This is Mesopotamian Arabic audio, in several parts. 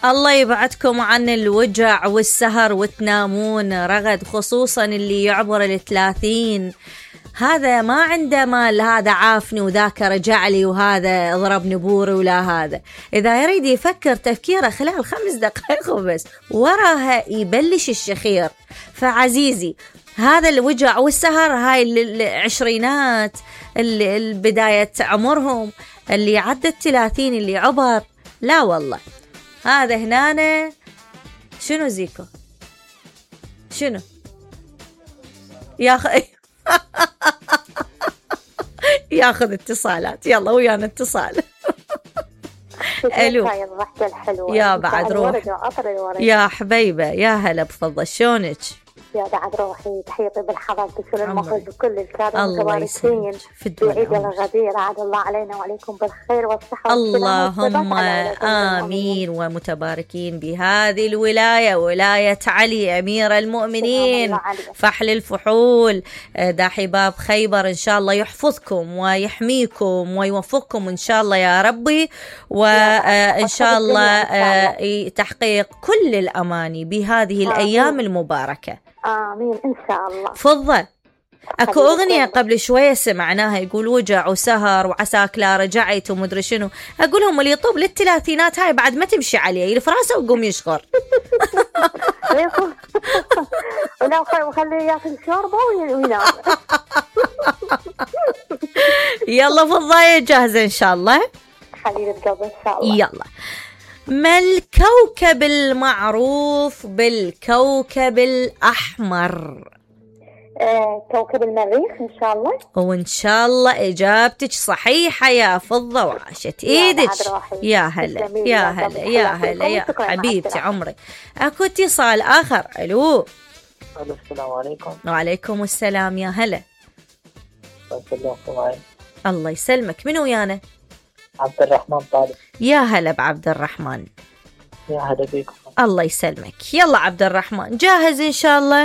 الله يبعدكم عن الوجع والسهر وتنامون رغد، خصوصا اللي يعبر 30. هذا ما عنده مال، هذا عافني وذاك رجع لي وهذا ضربني بوري ولا هذا. إذا يريد يفكر تفكيره خلال 5 دقائق وبس، وراها يبلش الشخير. فعزيزي هذا الوجع والسهر، هاي العشرينات البداية عمرهم، اللي عدت 30 اللي عبر، لا والله هذا هنا شنو زيكو شنو ياخذ اتصالات. يلا ويانا اتصال. الو يا بعد روح يا حبيبه، يا هلا بفضل، شلونك؟ يا بعد روحي، تحياتي بالحضر بكل المخرج بكل الكادر المتباركين في عيد الغدير. عاد الله علينا وعليكم بالخير والصحة اللهم آمين. ومتباركين بهذه الولاية، ولاية علي أمير المؤمنين فحل الفحول داحي باب خيبر. إن شاء الله يحفظكم ويحميكم ويوفقكم إن شاء الله يا ربي، وإن شاء الله تحقيق كل الأماني بهذه الأيام المباركة. آمين إن شاء الله. تفضل. أكو أغنية قبل شوية سمعناها يقول وجع وسهر وعساك لا رجعت ومدري شنو. أقولهم اللي يطوب لل30 هاي بعد ما تمشي عليه، يلف راسه ويقوم يشغر. وخليه ياكل شوربة وينام. يلا فضاية جاهزة إن شاء الله حبيبة قلبي إن شاء الله. يلا. ما الكوكب المعروف بالكوكب الأحمر؟ كوكب المريخ إن شاء الله. وإن شاء الله إجابتك صحيحة يا فضة، وعاشت إيدك. يا هلا يا هلا يا هلا يا حبيبتي عمري. أكو اتصال آخر. ألو. السلام عليكم. وعليكم السلام يا هلا. الله يسلمك. من ويانا؟ عبد الرحمن طالب. يا هلا بعبد الرحمن. يا هلا بيكم. الله يسلمك. يلا عبد الرحمن جاهز إن شاء الله؟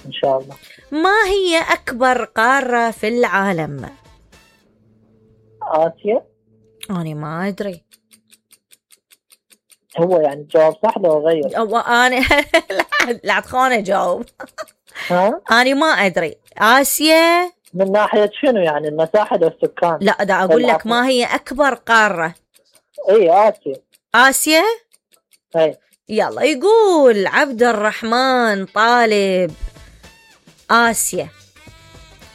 إن شاء الله. ما هي أكبر قارة في العالم؟ آسيا. أنا ما أدري. هو يعني جواب صح لو غير؟ أنا لا تخوني جاوب. ها؟ أنا ما أدري. آسيا من ناحية شنو يعني، المساحة أو السكان؟ لا دا أقول لك ما هي أكبر قارة. إيه آسيا. آسيا؟ إيه. يلا يقول عبد الرحمن طالب آسيا،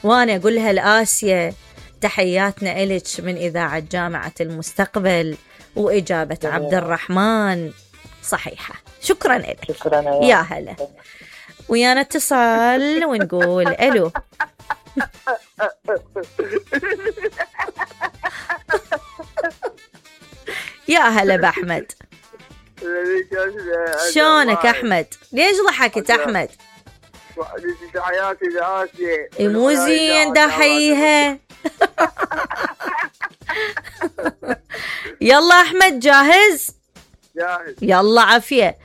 وأنا أقولها الآسيا. تحياتنا إلك من إذاعة جامعة المستقبل، وإجابة عبد الرحمن صحيحة. شكرا لك. شكرا يا هلا. ويانا اتصال ونقول ألو. يا هلا بأحمد. شلونك أحمد؟ ليش ضحكت أحمد؟ تحياتي لآسيا. مو زين دحيها. يلا أحمد جاهز؟ جاهز. يلا عافية.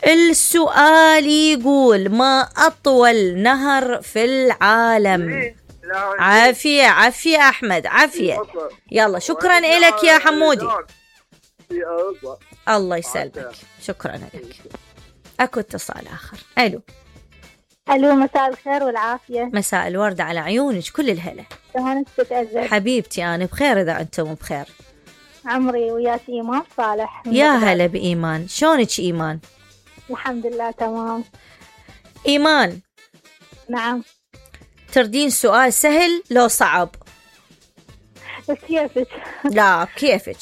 السؤال يقول ما أطول نهر في العالم؟ عافية عافية أحمد عافية. يلا شكرا لك يا حمودي. الله يسلمك. شكرا لك. أكو اتصال آخر. ألو. ألو مساء الخير والعافية. مساء الورد على عيونك كل الهلا. شلونك تتأذى؟ حبيبتي أنا بخير إذا أنتم بخير. عمري وياك إيمان صالح. يا هلا بإيمان. شلونك إيمان؟ الحمد لله تمام. إيمان. نعم. تردين سؤال سهل لو صعب؟ كيفك؟ لا كيفك؟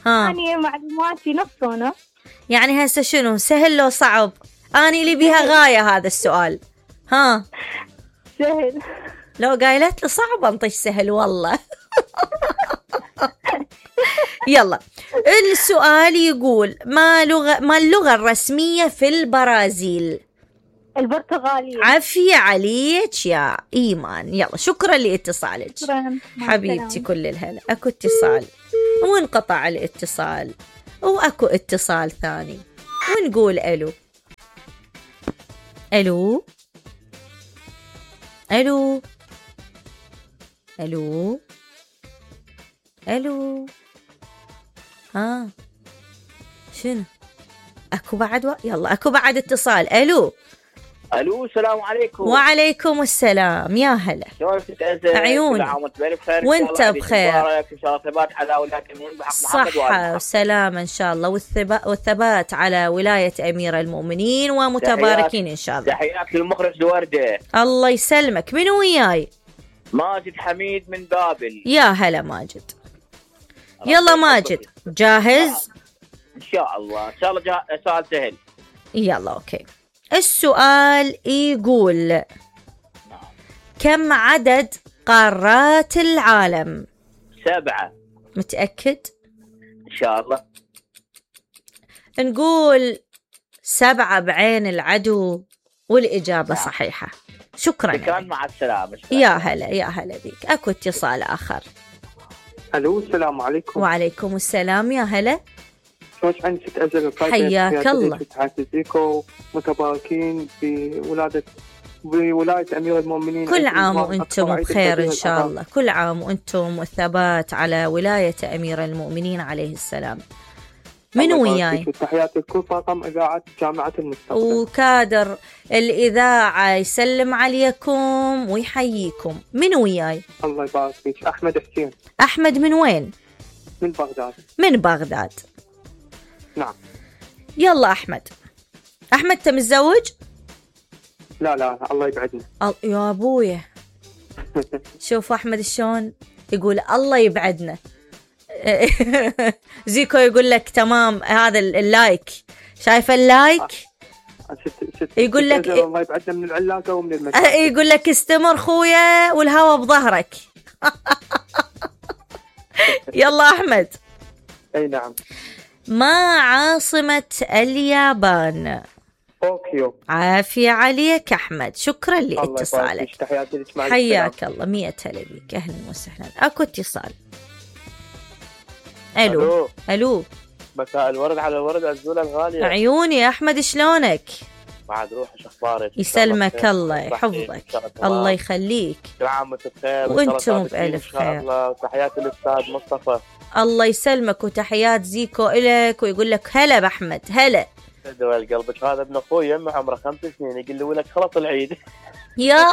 ها. أنا معلوماتي نص. يعني هسه شنو سهل لو صعب؟ أنا اللي بيها غاية هذا السؤال. ها. سهل. لو قايلت له صعب انطيش سهل والله. يلا السؤال يقول ما اللغة الرسمية في البرازيل؟ البرتغالية. عافية عليك يا إيمان. يلا شكرا لاتصالك. شكرا حبيبتي كل الهلا. أكو اتصال وانقطع الاتصال، وأكو اتصال ثاني ونقول ألو. ألو ألو ألو ألو. ها شنو اكو بعد يلا اكو بعد اتصال. الو السلام عليكم. وعليكم السلام، يا هلا. شلونك تتأذى؟ عيوني. كل عام وانت بخير. وانت بخير. ان شاء الله ثبات على ولاية المؤمنين بحق محمد صحة وسلامة ان شاء الله، والثبات على ولاية امير المؤمنين ومتباركين ان شاء الله. تحيات للمخرج وردة. الله يسلمك. من وياي؟ ماجد حميد من بابل. يا هلا ماجد. يلا ماجد جاهز؟ ان شاء الله ان شاء الله. سؤال سهل. يلا اوكي. السؤال يقول كم عدد قارات العالم؟ 7. متأكد؟ ان شاء الله. نقول 7 بعين العدو، والإجابة صحيحة. شكرا. كان مع السلامة. يا هلا يا هلا بيك. اكو اتصال آخر. الو السلام عليكم. وعليكم السلام، يا هلا. شلونك عندك تأذن؟ حياك الله. تحياتي زيكو، متباركين بولاية أمير المؤمنين. كل عام وأنتم بخير إن شاء الله. كل عام وأنتم والثبات على ولاية أمير المؤمنين عليه السلام. من وياي؟ تحياتي لكل طاقم إذاعة جامعة المستقبل وكادر الإذاعة يسلم عليكم ويحييكم. من وياي؟ الله يبارك فيك. أحمد حسين. أحمد من وين؟ من بغداد. من بغداد. نعم. يلا أحمد. أحمد أنت متزوج؟ لا الله يبعدنا. يا أبويا. شوف أحمد شلون يقول الله يبعدنا. زيكو يقول لك تمام. هذا اللايك، شايفه اللايك؟ يقول لك الله يبعدنا من العلاقة ومن المشاكل. يقول لك استمر خويا والهوا بظهرك. يلا أحمد. أي نعم. ما عاصمة اليابان؟ طوكيو. عافية عليك أحمد، شكرا لاتصالك. حياك الله. 100 هلا بيك. أهلا وسهلا. أكو اتصال. ألو. مساء الورد على الورد الزولة الغالية. عيوني يا أحمد، شلونك؟ بعد روح شخبارك. يسلمك الله يحفظك. الله يخليك. كل عام وانت بخير وانتم بألف خير. الله. تحياتي للأستاذ مصطفى. الله يسلمك، وتحيات زيكو إلك، ويقول لك هلا بأحمد. هلا. دول قلبك. هذا ابن أخوي يمه عمره 5 سنين يقول له لك خلص العيد. يا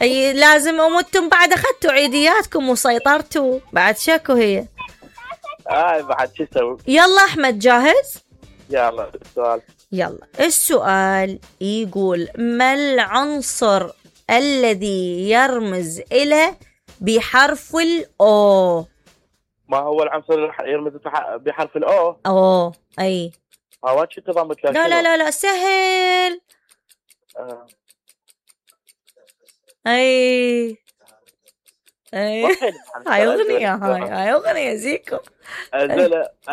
أي لازم أمتم بعد أخذتوا عيدياتكم وسيطرتوا بعد. شكو هي بعد شو اسوي؟ يلا أحمد جاهز؟ يلا السؤال. يلا السؤال يقول ما العنصر الذي يرمز إلى بحرف الأو؟ ما هو العنصر اللي يرمز بحرف الأو؟ أي هو شو تضمت لك؟ لا سهل. أي هاي أغنية زيكو.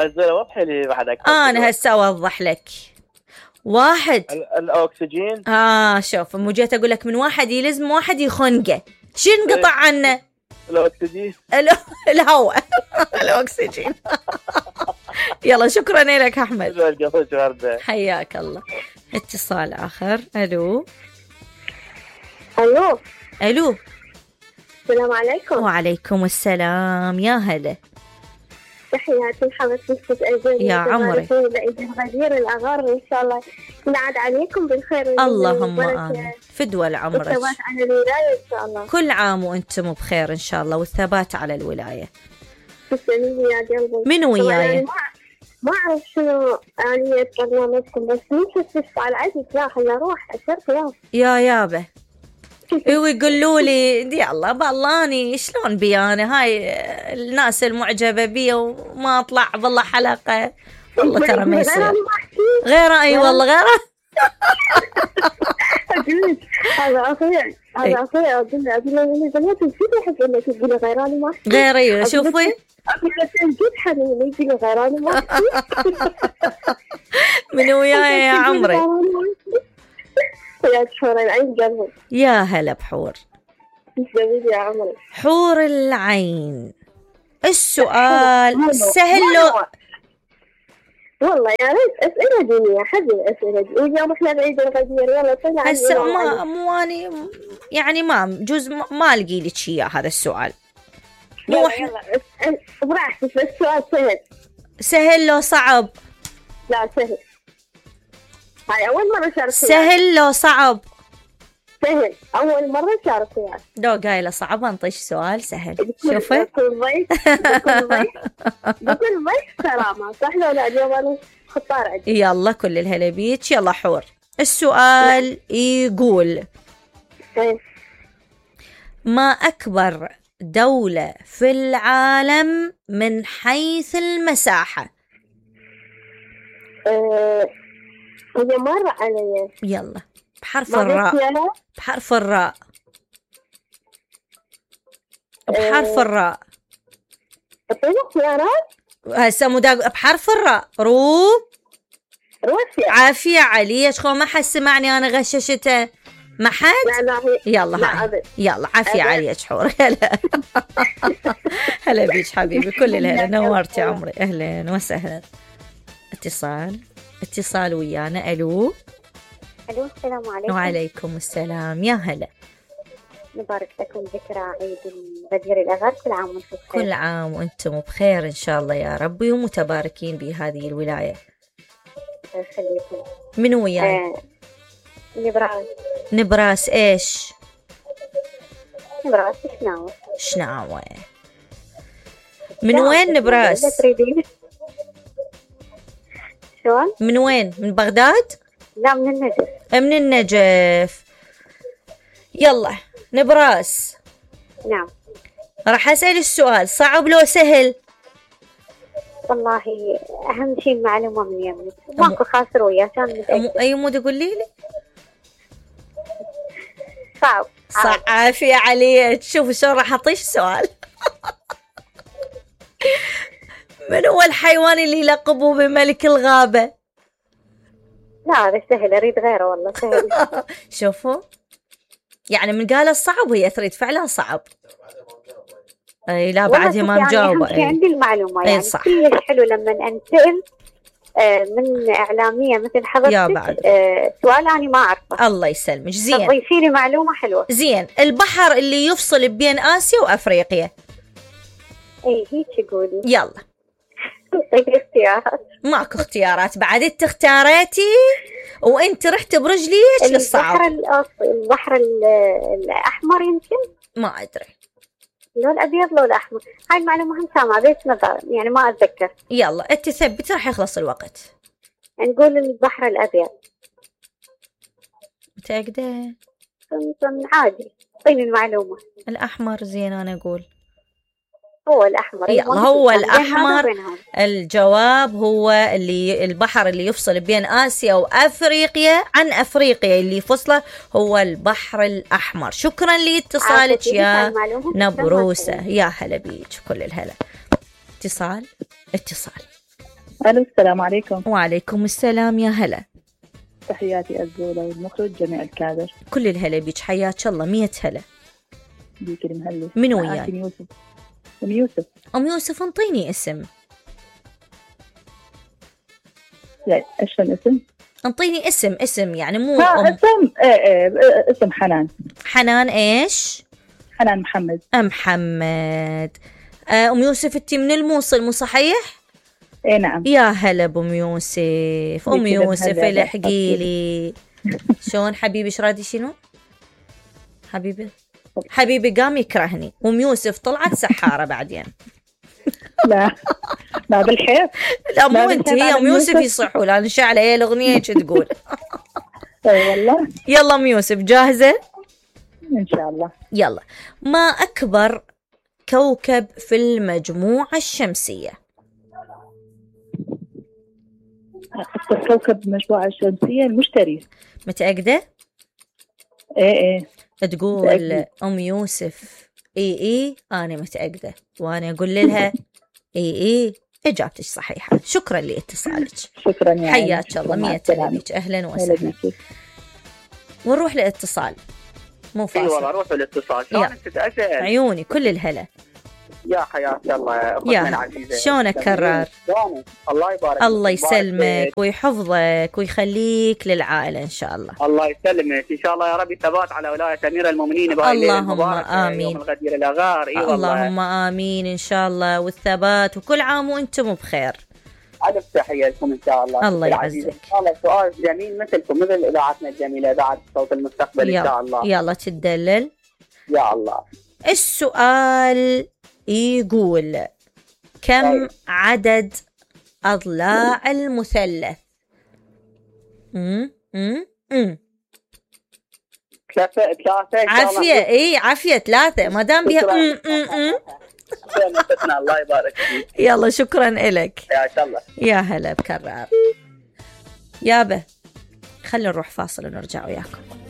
الزلة وضحي لي بعد أكثر. أنا هسه أوضح لك. واحد الأكسجين. شوف مو جيت أقول لك من واحد يلزم واحد يخنقه، شو نقطع عنه؟ الأكسجين. الهواء. الأكسجين. يلا شكرا لك أحمد. حياك الله. اتصال آخر. ألو. السلام عليكم. وعليكم السلام، يا هلا. تحياتي لحضرتك أجل يا عمري. غدير الأغار إن شاء الله ينعاد عليكم بالخير. اللهم آمين. فدوى لعمرك. والثبات على الولاية إن شاء الله. كل عام وأنتم بخير إن شاء الله، والثبات على الولاية. تسلمي يا قلبي. من وياي؟ ما أعرف شنو آلية برنامجكم، بس مو على عزيز. لا خلنا نروح أشرت يا يابا. ويقولوا لي دي الله بالاني شلون بيانا هاي الناس المعجبة بي وما أطلع بالله حلقة. والله ترى ما يصير غيره. أي والله غيره. هذا أخوي أقول له بنات كذا يحب إنك تقولي غيراني ما أحكي. غيري شوفي. أقول له جد حنين يقولي غيراني ما أحكي. من وياي يا عمري؟ يا هلا بحور. يا عمري. حور العين. السؤال سهل له والله يا ريت أسئلة دينية. حد الأسئلة دي. واليوم إحنا بعيد الغدير. يلا طلع. هسه مو أني يعني ما جوز ما ألقي لك إياه هذا السؤال. يلا براحتك بس سؤال سهل. سهل لو صعب؟ لا سهل. هاي أول مرة شارك وياك. سهل لو صعب؟ سهل، أول مرة شارك وياك. لو قايلة صعب انطيش سؤال سهل. بكل شوفي ضيف بكل ضيف سلامة، صح لو لا؟ اليوم أنا خطار عندي. يلا كل الهلا بيك. يلا حور، السؤال يقول إيه. ما أكبر دولة في العالم من حيث المساحة؟ هي مرة علي. يلا بحرف ما الراء. بيخيالها؟ بحرف الراء. بحرف الراء. اعطيني خيارات. هسه بحرف الراء. روسيا. عافية عليك، خو ما حد سمعني أنا غششته. ما حد؟ لا هي. يلا لا هاي. أبد. يلا عافية أبد. عليك حور. هلا هلا بيك حبيبي، كل الهلا، نورتي عمري. أهلا وسهلا. اتصال ويانا. ألو. ألو السلام عليكم. وعليكم السلام، يا هلا. نبارك لكم ذكرى عيد الغدير الأغر، كل عام وانتم بخير. كل عام وانتم بخير إن شاء الله يا ربي، ومتباركين بهذه الولاية. يخليكم. من وياي؟ نبراس. نبراس إيش؟ نبراس شناوة. شناوة. من وين نبراس؟ لا تريدين. شلون؟ من وين؟ من بغداد؟ لا من النجف. من النجف. يلا نبراس. نعم. راح أسأل السؤال، صعب لو سهل؟ والله أهم شيء المعلومة من يمك، ماكو خاسر وياه، كان متأكد. أي مود قولي لي؟ صعب. عافية عليك. شوفوا شلون راح أعطيش سؤال. من هو الحيوان اللي يلقبوه بملك الغابة؟ لا هذا سهل، أريد غيره والله سهل. شوفوا يعني من قال الصعب هي تريد فعلا صعب. اي لا بعدها ما مجاوبة. يعني عندي المعلومة يعني صح. كلش حلو لما أنسأل من إعلامية مثل حضرتك سؤال أنا ما أعرفه. الله يسلمك. زين، تضيفي لي معلومة حلوة. زين، البحر اللي يفصل بين آسيا وأفريقيا؟ اي هيك قولي. يلا. طيب اختيارات. ماكو اختيارات بعد، انت اختاريتي وانت رحت برجليك للصعب. البحر الأحمر يمكن. ما أدري. لو الأبيض لو الأحمر، هاي المعلومة هم سامعة بس يعني ما أتذكر. يلا انت ثبت، راح يخلص الوقت. نقول البحر الأبيض. متأكدة؟ عادي، اعطيني المعلومة. الأحمر. زين أنا أقول هو الأحمر. يلا هو الأحمر. الجواب هو البحر اللي يفصل بين آسيا وأفريقيا عن أفريقيا، اللي فصله هو البحر الأحمر. شكرا لاتصالك يا نبروسة. يا هلا بيك، كل الهلا. اتصال. ألو السلام عليكم. وعليكم السلام، يا هلا. تحياتي الزولة والمخرج جميع الكادر. كل الهلا بيك، حياك الله. 100 هلا. بيك المهلي. من وياي؟ أم يوسف. أم يوسف انطيني اسم. يعني ايش الاسم؟ انطيني اسم يعني مو اسم اسم حنان. حنان ايش؟ حنان محمد. محمد. أم يوسف انتي من الموصل مو صحيح؟ اي نعم. يا هلا بأم يوسف. أم يوسف الحقي لي. شلون حبيبي؟ ايش رادي شنو؟ حبيبي قام يكرهني. أم يوسف طلعت سحارة بعدين. لا بالحيف. لا مو انت، هي أم يوسف يصحوا لأن شعلة هي الأغنية ايش تقول. اي والله. يلا أم يوسف جاهزة؟ ان شاء الله. يلا. ما أكبر كوكب في المجموعة الشمسية؟ أكبر كوكب بالمجموعة الشمسية المشتري. متأكدة؟ ايه تقول متأكدة. أم يوسف اي أنا متأكدة، وأنا أقول لها اي إجابتك صحيحة. شكرا لاتصالك. شكرا يا حياك الله. 100 بك. أهلا وسهلا. ونروح لاتصال مو فاصل. اي والله روح للاتصال. شلونك تتأسف؟ عيوني كل الهلا. يا حياك الله يا العزيزة. شلونك كرار؟ الله يبارك. الله يسلمك ويحفظك ويخليك للعائلة إن شاء الله. الله يسلمك إن شاء الله يا ربي. ثبات على ولاية أمير المؤمنين بهاي اللهم آمين. يوم الغدير الأغار. اللهم آمين إن شاء الله، والثبات، وكل عام وأنتم بخير. ألف تحية لكم إن شاء الله. الله يعزك. والله سؤال جميل مثلكم مثل إذاعتنا الجميلة إذاعة صوت المستقبل إن شاء الله. يلا تدلل. يا الله. السؤال يقول كم عدد أضلاع المثلث؟ ثلاثة. عافية عافية 3 ما دام بيها الله يبارك فيك. يلا شكرا إلك. يا شاء الله. يا هلا بكرار. يابا خلينا نروح فاصل ونرجع وياكم.